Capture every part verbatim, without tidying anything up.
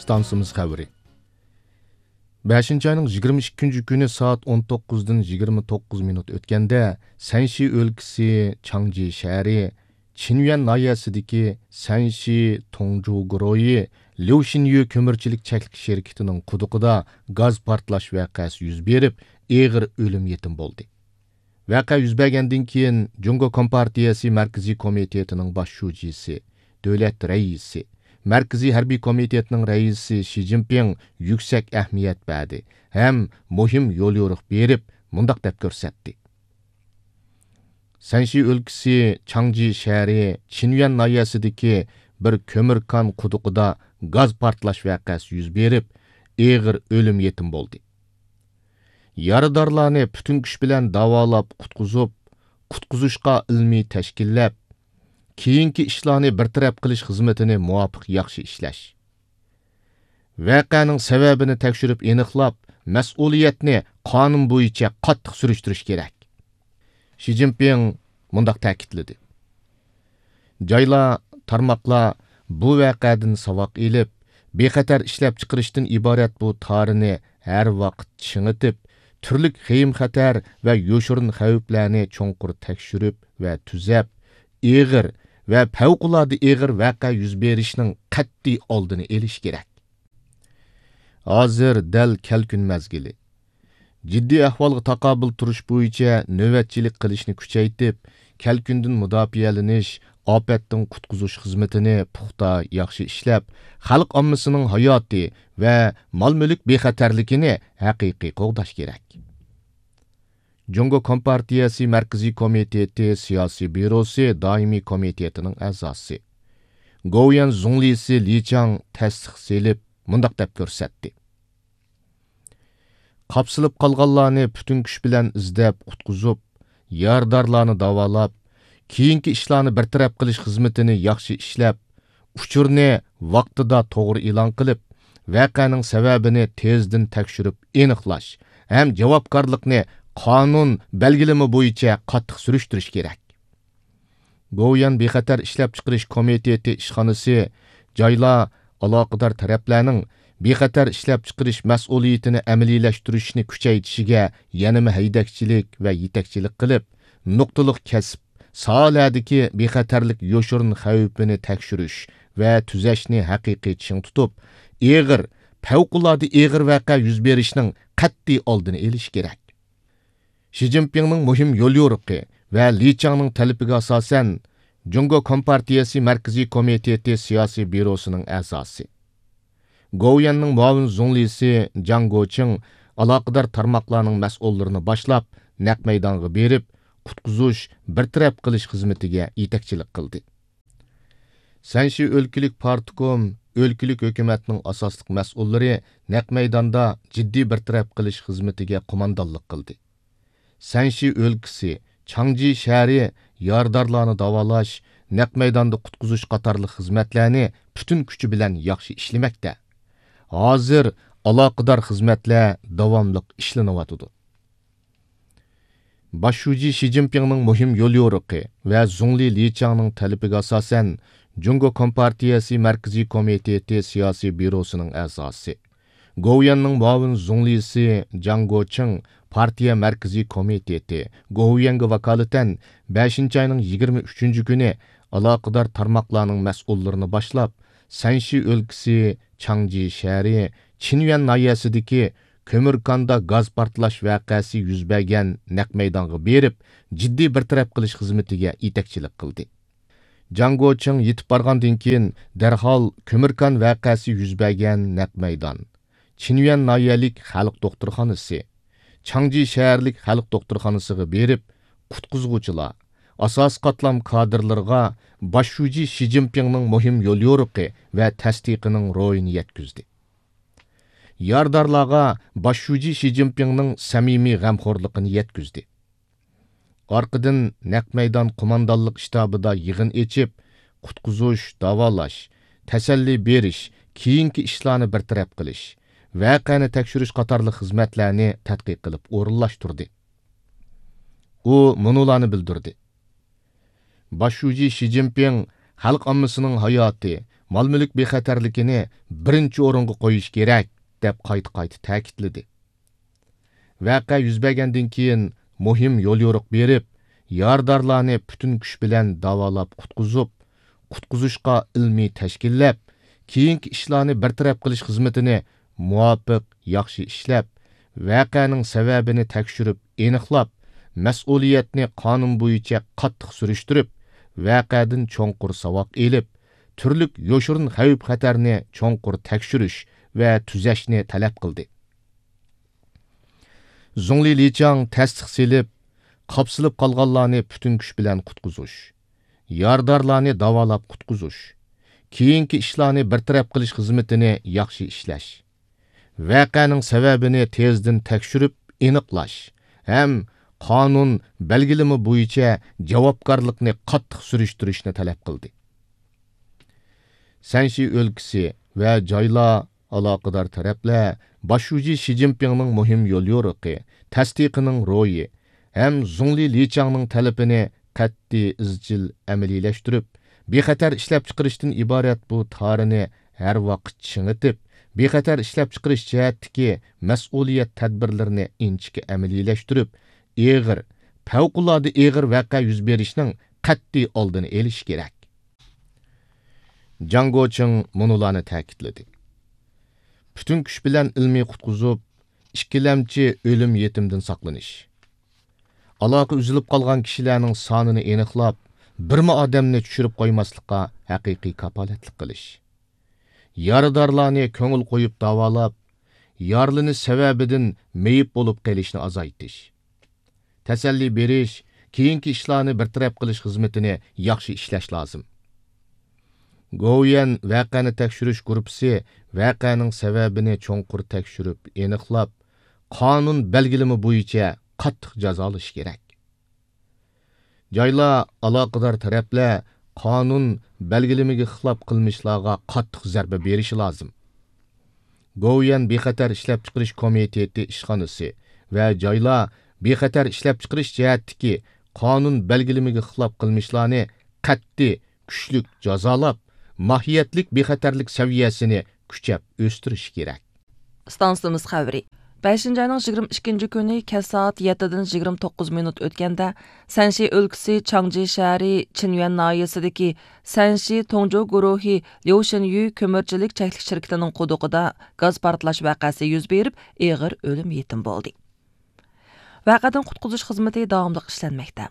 ئىستانسىمىز خەۋىرى. بەشىنچى ئاينىڭ يىگىرمە ئىككىنچى كۈنى سائەت ئون توققۇزدىن يىگىرمە توققۇز مىنۇت ئۆتكەندە، سەنشى ئۆلكىسى چاڭجى شەھىرى چىنيۈەن ناھىيەسىدىكى سەنشى توڭجۇ گۇرۇھى ليۇشىنيۈ كۆمۈرچىلىك چەكلىك شىركىتىنىڭ قۇدۇقىدا گاز پارتلاش ۋەقەسى يۈز بېرىپ، ئېغىر ئۆلۈم يېتىم بولدى. ۋەقە يۈز بەرگەندىن كېيىن، جۇڭگو كومپارتىيەسى مەركىزىي كومىتېتىنىڭ باش شۇجىسى، دۆلەت رەئىسى، مەركىزىي ھەربىي كومىتېتنىڭ رەئىسى شى جىنپىڭ يۈكسەك ئەھمىيەت بەردى ھەم مۇھىم يوليورۇق بېرىپ، مۇنداق دەپ كۆرسەتتى: سەنشى ئۆلكىسى چاڭجى شەھىرى چىنيۈەن ناھىيەسىدىكى بىر كۆمۈر كان قۇدۇقىدا گاز پارتلاش ۋەقەسى يۈز بېرىپ، ئېغىر ئۆلۈم يېتىم بولدى. يارىدارلارنى پۈتۈن كۈچ بىلەن داۋالاپ قۇتقۇزۇپ، قۇتقۇزۇشقا ئىلمىي تەشكىللەپ، كېيىنكى ئىشلارنى بىر تەرەپ قىلىش خىزمىتىنى مۇۋاپىق ياخشى ئىشلەش. ۋەقەنىڭ سەۋەبىنى تەكشۈرۈپ ئېنىقلاپ، مەسئۇلىيەتنى قانۇن بويىچە قاتتىق سۈرۈشتۈرۈش كېرەك. شى جىنپىڭ مۇنداق تەكىتلىدى: جايلار، تارماقلار بۇ ۋەقەدىن ساۋاق ئېلىپ، بىخەتەر ئىشلەپچىقىرىشتىن ئىبارەت بۇ تارىنى ھەر ۋاقىت چىڭىتىپ، تۈرلۈك خېيىم-خەتەر ۋە يوشۇرۇن خەۋپلەرنى چوڭقۇر تەكشۈرۈپ ۋە تۈزەپ، ئېغىر ۋە پەۋقۇلئاددە ئېغىر ۋەقە يۈز بېرىشنىڭ قەتئىي ئالدىنى ئېلىش كېرەك. ھازىر دەل كەلكۈن مەزگىلى. جىددىي ئەھۋالغا تاقابىل تۇرۇش بويىچە نۆۋەتچىلىك قىلىشنى كۈچەيتىپ، كەلكۈندىن مۇداپىئەلىنىش، ئاپەتتىن قۇتقۇزۇش خىزمىتىنى پۇختا، ياخشى ئىشلەپ، خەلق ئاممىسىنىڭ ھاياتى ۋە مال-مۈلۈك بىخەتەرلىكىنى ھەقىقىي قوغداش كېرەك. جۇڭگو كومپارتىيەسى مەركىزىي كومىتېتى سىياسىي بيۇروسى دائىمىي كومىتېتىنىڭ ئەزاسى، گوۋۇيۈەن زۇڭلىسى لى چاڭ تەستىق سېلىپ، مۇنداق دەپ كۆرسەتتى: قاپسىلىپ قالغانلارنى پۈتۈن كۈچ بىلەن ئىزدەپ قۇتقۇزۇپ، يارىدارلارنى داۋالاپ، كېيىنكى ئىشلارنى بىر تەرەپ قىلىش خىزمىتىنى ياخشى ئىشلەپ، ئۇچۇرنى ۋاقتىدا توغرا ئېلان قىلىپ، ۋەقەنىڭ سەۋەبىنى تېزدىن تەكشۈرۈپ ئېنىقلاش ھەم جاۋابكارلىقنى قانۇن بەلگىلىمە بويىچە قاتتىق سۈرۈشتۈرۈش كېرەك. گوۋۇيۈەن بىخەتەر ئىشلەپچىقىرىش كومىتېتى ئىشخانىسى جايلار، ئالاقىدار تەرەپلەرنىڭ بىخەتەر ئىشلەپچىقىرىش مەسئۇلىيىتىنى ئەمەلىيلەشتۈرۈشنى كۈچەيتىشىگە يەنىمۇ ھەيدەكچىلىك ۋە يېتەكچىلىك قىلىپ، نۇقتىلىق كەسىپ، ساھەلەردىكى بىخەتەرلىك يوشۇرۇن خەۋپىنى تەكشۈرۈش ۋە تۈزەشنى ھەقىقىي چىڭ تۇتۇپ، ئېغىر، پەۋقۇلئاددە ئېغىر ۋەقە يۈز بېرىشنىڭ قەتئىي ئالدىنى ئېلىش كېرەك. شى جىنپىڭنىڭ مۇھىم يوليورۇقى ۋە لى چاڭنىڭ تەلىپىگە ئاساسەن، جۇڭگو كومپارتىيەسى مەركىزىي كومىتېتى سىياسىي بيۇروسىنىڭ ئەزاسى، گوۋۇيۈەننىڭ مۇئاۋىن زۇڭلىسى جاڭ گوچىڭ ئالاقىدار تارماقلارنىڭ مەسئۇللىرىنى باشلاپ، نەق مەيدانغا بېرىپ، قۇتقۇزۇش، بىر تەرەپ قىلىش خىزمىتىگە يېتەكچىلىك قىلدى. سەنشى ئۆلكىلىك پارتكوم، ئۆلكىلىك ھۆكۈمەتنىڭ ئاساسلىق مەسئۇللىرى نەق مەيداندا جىددىي بىر تەرەپ قىلىش خىزمىتىگە قوماندانلىق قىلدى. سەنشى ئۆلكىسى، چاڭجى شەھىرى يارىدارلارنى داۋالاش، نەق مەيداندا قۇتقۇزۇش قاتارلىق خىزمەتلەرنى پۈتۈن كۈچى بىلەن ياخشى ئىشلىمەكتە. ھازىر ئالاقىدار خىزمەتلەر داۋاملىق ئىشلىنىۋاتىدۇ. باش شۇجى شى جىنپىڭنىڭ مۇھىم يوليورۇقى ۋە زۇڭلى لى چاڭنىڭ تەلىپىگە ئاساسەن، جۇڭگو كومپارتىيەسى مەركىزىي كومىتېتى سىياسىي بيۇروسىنىڭ ئەزاسى، گوۋۇيۈەننىڭ مۇئاۋىن زۇڭلىسى جاڭ گوچىڭ پارتىيە مەركىزىي كومىتېتى گوۋۇيۈەنگە ۋاكالىتەن بەشىنچى ئاينىڭ يىگىرمە ئۈچىنچى كۈنى ئالاقىدار تارماقلارنىڭ مەسئۇللىرىنى باشلاپ، سەنشى ئۆلكىسى چاڭجى شەھىرى چىنيۈەن ناھىيەسىدىكى كۆمۈر كاندا گاز پارتلاش ۋەقەسى يۈز بەرگەن نەق مەيدانغا بېرىپ، جىددىي بىر تەرەپ قىلىش خىزمىتىگە يېتەكچىلىك قىلدى. جاڭ گوچىڭ يېتىپ بارغاندىن كېيىن، دەرھال كۆمۈر كان ۋەقەسى يۈز بەرگەن نەق مەيدان، چىنيۈەن ناھىيەلىك خەلق دوختۇرخانىسى، چاڭجى شەھەرلىك خەلق دوختۇرخانىسىغا بېرىپ، قۇتقۇزغۇچىلار، ئاساسىي قاتلام كادىرلىرىغا باش شۇجى شى جىنپىڭنىڭ مۇھىم يوليورۇقى ۋە تەستىقىنىڭ روھىنى يەتكۈزدى. يارىدارلارغا باش شۇجى شى جىنپىڭنىڭ سەمىمىي غەمخورلۇقىنى يەتكۈزدى. ئارقىدىن نەق مەيدان قوماندانلىق شتابىدا يىغىن ئېچىپ، قۇتقۇزۇش، داۋالاش، تەسەللى بېرىش، كېيىنكى ئىشلارنى بىر تەرەپ قىلىش، ۋەقەنى تەكشۈرۈش قاتارلىق خىزمەتلەرنى تەتقىق قىلىپ ئورۇنلاشتۇردى. ئۇ مۇنۇلارنى بىلدۈردى. باش شۇجى شى جىنپىڭ خەلق ئاممىسىنىڭ ھاياتى مال-مۈلۈك بىخەتەرلىكىنى بىرىنچى ئورۇنغا قويۇش كېرەك، دەپ قايتا-قايتا تەكىتلىدى. ۋەقە يۈز بەرگەندىن كېيىن مۇھىم يوليورۇق بېرىپ، يارىدارلارنى پۈتۈن كۈچ بىلەن داۋالاپ قۇتقۇزۇپ، قۇتقۇزۇشقا ئىلمىي تەشكىللەپ، كېيىنكى ئىشلارنى بىر تەرەپ قىلىش خىزمىتىنى مۇۋاپىق، ياخشى ئىشلەپ، ۋەقەنىڭ سەۋەبىنى تەكشۈرۈپ ئېنىقلاپ، مەسئۇلىيەتنى قانۇن بويىچە قاتتىق سۈرۈشتۈرۈپ، ۋەقەدىن چوڭقۇر ساۋاق ئېلىپ، تۈرلۈك يوشۇرۇن خەۋپ-خەتەرنى چوڭقۇر تەكشۈرۈش ۋە تۈزەشنى تەلەپ قىلدى. زۇڭلى لىچاڭ تەستىق سېلىپ، قاپسىلىپ قالغانلارنى پۈتۈن كۈچ بىلەن قۇتقۇزۇش، يارىدارلارنى داۋالاپ قۇتقۇزۇش، كېيىنكى ئىشلارنى بىر تەرەپ قىلىش خىزمىتىنى ياخشى ئىشلەش، ۋەقەنىڭ سەۋەبىنى تېزدىن تەكشۈرۈپ ئېنىقلاش ھەم قانۇن بەلگىلىمە بويىچە جاۋابكارلىقنى قاتتىق سۈرۈشتۈرۈشنى تەلەپ قىلدى. سەنشى ئۆلكىسى ۋە جايلار، ئالاقىدار تەرەپلەر باش شۇجى شى جىنپىڭنىڭ مۇھىم يوليورۇقى، تەستىقىنىڭ روھى ھەم زۇڭلى لىچاڭنىڭ تەلىپىنى قەتئىي ئىزچىل ئەمەلىيلەشتۈرۈپ، بىخەتەر ئىشلەپچىقىرىشتىن ئىبارەت بۇ تارىنى ھەر ۋاقىت چىڭىتىپ، بىخەتەر ئىشلەپچىقىرىش جەھەتتىكى مەسئۇلىيەت تەدبىرلىرىنى ئىنچىكە ئەمەلىيلەشتۈرۈپ، ئېغىر، پەۋقۇلئاددە ئېغىر ۋەقە يۈز بېرىشنىڭ قەتئىي ئالدىنى ئېلىش كېرەك. جاڭ گوچىڭ مۇنۇلارنى تەكىتلىدى: پۈتۈن كۈچ بىلەن ئىلمىي قۇتقۇزۇپ، ئىككىلەمچى ئۆلۈم يېتىمدىن ساقلىنىش، ئالاقە ئۈزۈلۈپ قالغان كىشىلەرنىڭ سانىنى ئېنىقلاپ، بىرمۇ ئادەمنى چۈشۈرۈپ قويماسلىققا ھەقىقىي كاپالەتلىك قىلىش، يارىدارلارنى كۆڭۈل قويۇپ داۋالاپ، يارىلىنىش سەۋەبىدىن مېيىپ بولۇپ قېلىشنى ئازايتىش، تەسەللى بېرىش، كېيىنكى ئىشلارنى بىر تەرەپ قىلىش خىزمىتىنى ياخشى ئىشلەش لازىم. گوۋۇيۈەن ۋەقەنى تەكشۈرۈش گۇرۇپپىسى ۋەقەنىڭ سەۋەبىنى چوڭقۇر تەكشۈرۈپ ئېنىقلاپ، قانۇن بەلگىلىمە بويىچە قاتتىق جازالىشى كېرەك. جايلار، ئالاقىدار تەرەپلەر قانۇن بەلگىلىمىگە خىلاپ قىلمىشلارغا قاتتىق زەربە بېرىشى لازىم. گوۋۇيۈەن بىخەتەر ئىشلەپچىقىرىش كومىتېتى ئىشخانىسى ۋە جايلار بىخەتەر ئىشلەپچىقىرىش جەھەتتىكى قانۇن بەلگىلىمىگە خىلاپ قىلمىشلارنى قەتئىي، كۈچلۈك جازالاپ، ماھىيەتلىك بىخەتەرلىك سەۋىيەسىنى كۈچەپ ئۆستۈرۈشى كېرەك. ئىستانسىمىز خەۋىرى. بەشىنچى ئاينىڭ يىگىرمە ئىككىنچى كۈنى كەچ سائەت يەتتىدىن يىگىرمە توققۇز مىنۇت ئۆتكەندە، سەنشى ئۆلكىسى چاڭجى شەھىرى چىنيۈەن ناھىيەسىدىكى سەنشى تۇڭجۇ گۇرۇھى ليۇشىنيۈ كۆمۈرچىلىك چەكلىك شىركىتىنىڭ قۇدۇقىدا گاز پارتلاش ۋەقەسى يۈز بېرىپ، ئېغىر ئۆلۈم يېتىم بولدى. ۋەقەدىن قۇتقۇزۇش خىزمىتى داۋاملىق ئىشلەنمەكتە.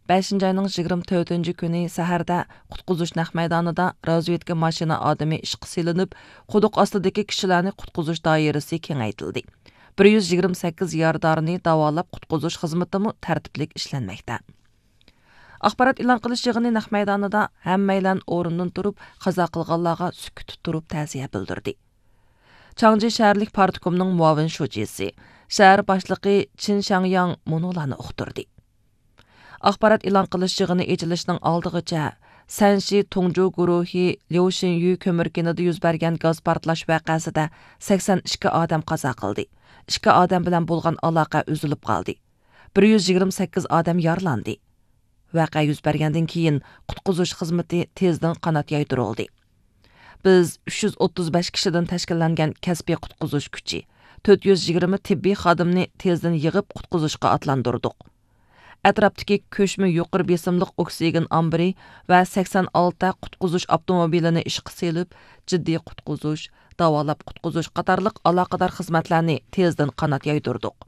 بەشىنچى ئاينىڭ يىگىرمە تۆتىنچى كۈنى سەھەردە قۇتقۇزۇش نەق مەيدانىدا رازۋېدكا ماشىنا ئادىمى ئىشقا سېلىنىپ، قۇدۇق ئاستىدىكى كىشىلەرنى قۇتقۇزۇش دائىرىسى كېڭەيتىلدى. بىر يۈز يىگىرمە سەككىز يارىدارنى داۋالاپ قۇتقۇزۇش خىزمىتىمۇ تەرتىپلىك ئىشلەنمەكتە. ئاخبارات ئېلان قىلىش يىغىنى نەق مەيدانىدا ھەممەيلەن ئورنىدىن تۇرۇپ، قازا قىلغانلارغا سۈكۈتتە تۇرۇپ تەزىيە بىلدۈردى. چاڭجى شەھەرلىك پارتكومنىڭ مۇئاۋىن شۇجىسى، شەھەر باشلىقى چىن شاڭياڭ مۇنۇلارنى ئۇقتۇردى. ئاخبارات ئېلان قىلىش يىغىنى ئېچىلىشنىڭ ئالدىغىچە، سەنشى تۇڭجۇ گۇرۇھى ليۇشىنيۈ كۆمۈر كېنىدا يۈز بەرگەن گاز پارتلاش ۋەقەسىدە سەكسەن ئىككى ئادەم قازا قىلدى، ئىككى ئادەم بىلەن بولغان ئالاقە ئۈزۈلۈپ قالدى، بىر يۈز يىگىرمە سەككىز ئادەم يارىلاندى. ۋەقە يۈز بەرگەندىن كېيىن، قۇتقۇزۇش خىزمىتى تېزدىن قانات يايدۇرۇلدى. بىز ئۈچ يۈز ئوتتۇز بەش كىشىدىن تەشكىللەنگەن كەسپىي قۇتقۇزۇش كۈچى، تۆت يۈز يىگىرمە تېببىي خادىمنى تېزدىن يىغىپ، قۇتقۇزۇشقا ئاتلاندۇردۇق. ئەتراپتىكى كۆچمە يۇقىرى بېسىملىق ئوكسىگېن ئامبىرى ۋە سەكسەن ئالتە قۇتقۇزۇش ئاپتوموبىلىنى ئىشقا سېلىپ، جىددىي قۇتقۇزۇش، داۋالاپ قۇتقۇزۇش قاتارلىق ئالاقىدار خىزمەتلەرنى تېزدىن قانات يايدۇردۇق.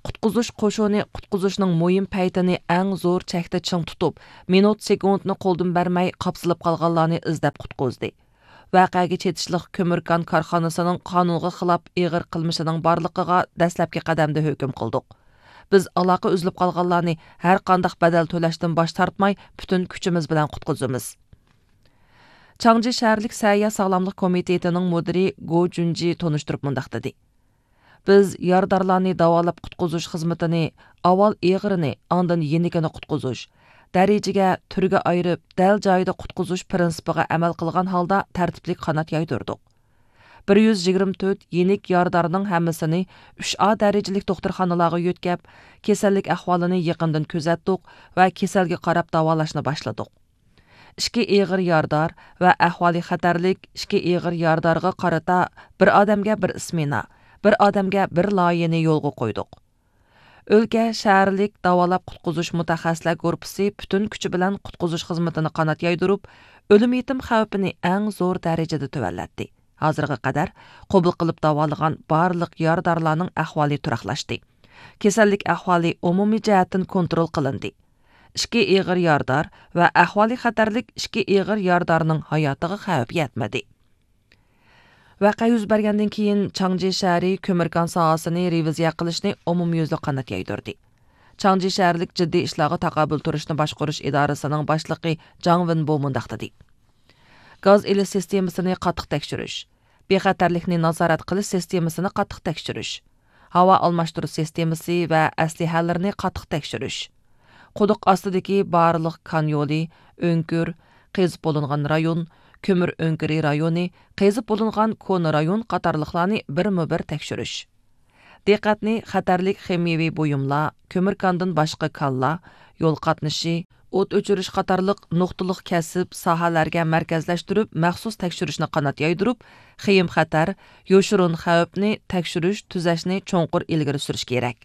قۇتقۇزۇش قوشۇنى قۇتقۇزۇشنىڭ مۇھىم پەيتىنى ئەڭ زور چەكتە چىڭ تۇتۇپ، مىنۇت سېكۇنتنى قولدىن بەرمەي قاپسىلىپ قالغانلارنى ئىزدەپ قۇتقۇزدى. ۋەقەگە چېتىشلىق كۆمۈر كان كارخانىسىنىڭ قانۇنغا خىلاپ ئېغىر قىلمىشىنىڭ بارلىقىغا دەسلەپكى قەدەمدە ھۆكۈم قىلدۇق. بىز ئالاقە ئۈزۈلۈپ قالغانلارنى ھەر قانداق بەدەل تۆلەشتىن باش تارتماي پۈتۈن كۈچىمىز بىلەن قۇتقۇزىمىز. چاڭجى شەھەرلىك سەھىيە ساغلاملىق كومىتېتىنىڭ مۇدىرى گو جۈنجى تونۇشتۇرۇپ مۇنداق دېدى. بىز يارىدارلارنى داۋالاپ قۇتقۇزۇش خىزمىتىنى ئاۋۋال ئېغىرىنى، ئاندىن يېنىكىنى قۇتقۇزۇش، دەرىجىگە، تۈرگە ئايرىپ، دەل جايىدا قۇتقۇزۇش پىرىنسىپىغا ئەمەل قىلغان ھالدا تەرتىپلىك قانات يايدۇردۇق. بىر يۈز يىگىرمە تۆت يېنىك يارىدارنىڭ ھەممىسىنى ئۈچ ئا دەرىجىلىك دوختۇرخانىلارغا يۆتكەپ، كېسەللىك ئەھۋالىنى يېقىندىن كۆزەتتۇق ۋە كېسەلگە قاراپ داۋالاشنى باشلىدۇق. ئىككى ئېغىر يارىدار ۋە ئەھۋالى خەتەرلىك ئىككى ئېغىر يارىدارغا قارىتا بىر ئادەمگە بىر ئىسمېنا، بىر ئادەمگە بىر لايىھەنى يولغا قويدۇق. ئۆلكە شەھەرلىك داۋالاپ قۇتقۇزۇش مۇتەخەسسىسلەر گۇرۇپپىسى پۈتۈن كۈچى بىلەن قۇتقۇزۇش خىزمىتىنى قانات يايدۇرۇپ، ئۆلۈم يېتىم خەۋپىنى ئەڭ زور دەرىجىدە تۆۋەنلەتتى. ھازىرغا قەدەر قوبۇل قىلىپ داۋالىغان بارلىق يارىدارلارنىڭ ئەھۋالى تۇراقلاشتى. كېسەللىك ئەھۋالى ئومۇمىي جەھەتتىن كونترول قىلىندى. ئىككى ئېغىر يارىدار ۋە ئەھۋالى خەتەرلىك ئىككى ئېغىر يارىدارنىڭ ھاياتىغا خەۋپ يەتمىدى. ۋەقە يۈز بەرگەندىن كېيىن، چاڭجى شەھىرى كۆمۈر كان ساھەسىنى رېۋىزىيە قىلىشنى ئومۇميۈزلۈك قانات يايدۇردى. چاڭجى شەھەرلىك جىددىي ئىشلارغا تاقابىل تۇرۇشنى باشقۇرۇش ئىدارىسىنىڭ باشلىقى جاڭ ۋېنبو مۇنداق دېدى: گاز ئېلىش سىستېمىسىنى قاتتىق تەكشۈرۈش، بىخەتەرلىكنى نازارەت قىلىش سىستېمىسىنى قاتتىق تەكشۈرۈش، ھاۋا ئالماشتۇرۇش سىستېمىسى ۋە ئەسلىھەلىرىنى قاتتىق تەكشۈرۈش، قۇدۇق ئاستىدىكى بارلىق كان يولى، ئۆڭكۈر، قېزىپ بولۇنغان رايون، كۆمۈر ئۆڭكۈرى رايونى، قېزىپ بولۇنغان كونا رايون قاتارلىقلارنى بىرمۇ بىر تەكشۈرۈش. دىققەتنى خەتەرلىك خىمىيەۋى بۇيۇملار، كۆمۈر كاندىن باشقا كانلار، يول قاتنىشى، ئوت ئۆچۈرۈش قاتارلىق نۇقتىلىق كەسىپ، ساھەلەرگە مەركەزلەشتۈرۈپ، مەخسۇس تەكشۈرۈشنى قانات يايدۇرۇپ، خېيىم خەتەر، يوشۇرۇن خەۋپنى تەكشۈرۈش، تۈزەشنى چوڭقۇر ئىلگىرى سۈرۈش كېرەك.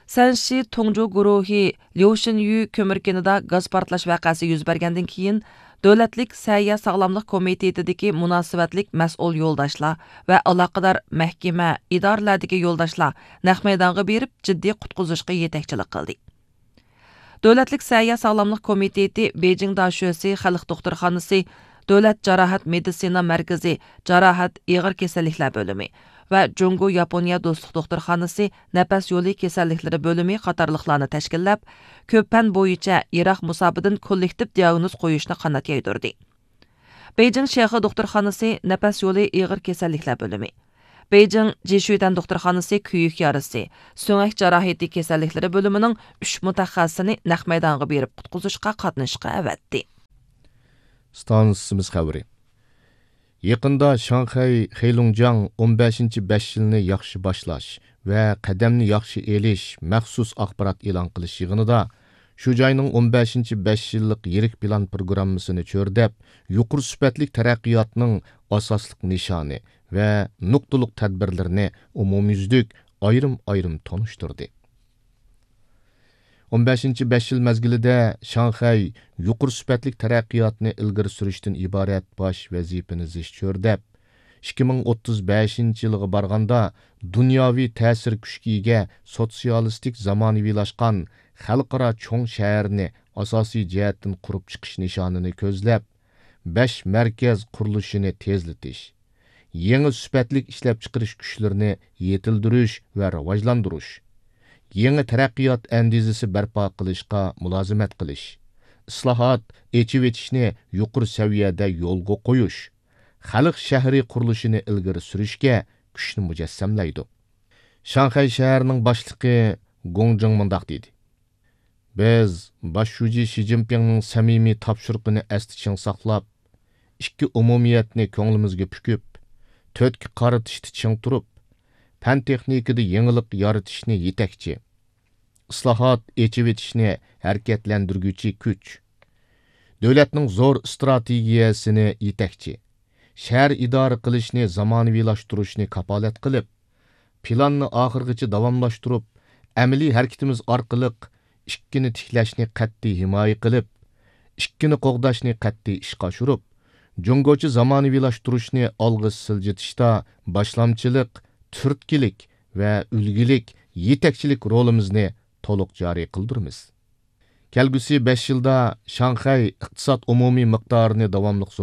سەنشى تۇڭجۇ گۇرۇھى ليۇشىنيۈ كۆمۈر كېنىدا گاز پارتلاش ۋەقەسى يۈز بەرگەندىن كېيىن، دۆلەتلىك سەھىيە ساغلاملىق كومىتېتىدىكى مۇناسىۋەتلىك مەسئۇل يولداشلار ۋە ئالاقىدار مەھكىمە، ئىدارىلەردىكى يولداشلار نەق مەيدانغا بېرىپ، جىددىي قۇتقۇزۇشقا يېتەكچىلىك قىلدى. دۆلەتلىك سەھىيە ساغلاملىق كومىتېتى بېيجىڭ داشۆسى خەلق دوختۇرخانىسى، دۆلەت جاراھەت مېدىتسىنا مەركىزى جاراھەت ئېغىر كېسەللىكلەر بۆلۈمى ۋە جۇڭگو ياپونىيە دوستلۇق دوختۇرخانىسى نەپەس يولى كېسەللىكلىرى بۆلۈمى قاتارلىقلارنى تەشكىللەپ، كۆپ پەن بويىچە يىراق مۇساپىدىن كوللېكتىپ دىئاگنوز قويۇشنى قانات يايدۇردى. بېيجىڭ شياخې دوختۇرخانىسى نەپەس يولى ئېغىر كېسەللىكلەر بۆلۈمى، بېيجىڭ جىشۈيتەن دوختۇرخانىسى كۆيۈك يارىسى، سۆڭەك جاراھىتى كېسەللىكلىرى بۆلۈمىنىڭ ئۈچ مۇتەخەسسىسىنى نەق مەيدانغا بېرىپ قۇتقۇزۇشقا قاتنىشىشقا ئەۋەتتى. ئىستانسىمىز خەۋىرى. يېقىندا شاڭخەي خېيلۇڭجياڭ ئون بەشىنچى بەش يىلنى ياخشى باشلاش ۋە قەدەمنى ياخشى ئېلىش مەخسۇس ئاخبارات ئېلان قىلىش يىغىنىدا شۇ جاينىڭ ئون بەشىنچى بەش يىللىق يىرىك پىلان پروگراممىسىنى چۆرىدەپ، يۇقىرى سۈپەتلىك تەرەققىياتنىڭ ئاساسلىق نىشانى ۋە نۇقتىلىق تەدبىرلىرىنى ئومۇميۈزلۈك ئايرىم-ئايرىم تونۇشتۇردى. ئون بەشىنچى بەش يىل مەزگىلىدە شاڭخەي يۇقىرى سۈپەتلىك تەرەققىياتنى ئىلگىرى سۈرۈشتىن ئىبارەت باش ۋەزىپىنى زىچ چۆرىدەپ، ئىككى مىڭ ئوتتۇز بەشىنچى يىلغا بارغاندا، دۇنياۋى تەسىر كۈچكە ئىگە سوتسىيالىستىك زامانىۋىلاشقان خەلقئارا چوڭ شەھەرنى ئاساسىي جەھەتتىن قۇرۇپ چىقىش نىشانىنى كۆزلەپ، بەش مەركەز قۇرۇلۇشىنى تېزلىتىش، يېڭى سۈپەتلىك ئىشلەپچىقىرىش كۈچلىرىنى يېتىلدۈرۈش ۋە راۋاجلاندۇرۇش، يېڭى تەرەققىيات ئەندىزىسى بەرپا قىلىشقا مۇلازىمەت قىلىش، ئىسلاھات، ئېچىۋېتىشنى يۇقىرى سەۋىيەدە يولغا قويۇش، خەلق شەھىرى قۇرۇلۇشىنى ئىلگىرى سۈرۈشكە كۈچنى مۇجەسسەملەيدۇ. شاڭخەي شەھىرىنىڭ باشلىقى گوڭجېڭ مۇنداق دېدى: بىز باش شۇجى شى جىنپىڭنىڭ سەمىمىي تاپشۇرۇقىنى ئەستە چىڭ ساقلاپ، ئىككى ئومۇمىيەتنى كۆڭلىمىزگە پۈكۈپ، تۆتكە قارىتىشتا چىڭ تۇرۇپ، پەن تېخنىكىدا يېڭىلىق يارىتىشنى يېتەكچى، ئىسلاھات، ئېچىۋېتىشنى ھەرىكەتلەندۈرگۈچى كۈچ، دۆلەتنىڭ زور ئىستراتېگىيەسىنى يېتەكچى، شەھەر ئىدارە قىلىشنى زامانىۋىلاشتۇرۇشنى كاپالەت قىلىپ، پىلاننى ئاخىرغىچە داۋاملاشتۇرۇپ، ئەمەلىي ھەرىكىتىمىز ئارقىلىق ئىككىنى تىكلەشنى قەتئىي ھىمايە قىلىپ، ئىككىنى قوغداشنى قەتئىي ئىشقا ئاشۇرۇپ، جۇڭگوچە زامانىۋىلاشتۇرۇشنى ئالغا سىلجىتىشتا باشلامچىلىق، تۈرتكىلىك ۋە ئۈلگىلىك يېتەكچىلىك رولىمىزنى تولۇق جارى قىلدۇرىمىز. كەلگۈسى بەش يىلدا شاڭخەي ئىقتىساد ئومۇمىي مىقدارىنى داۋاملىق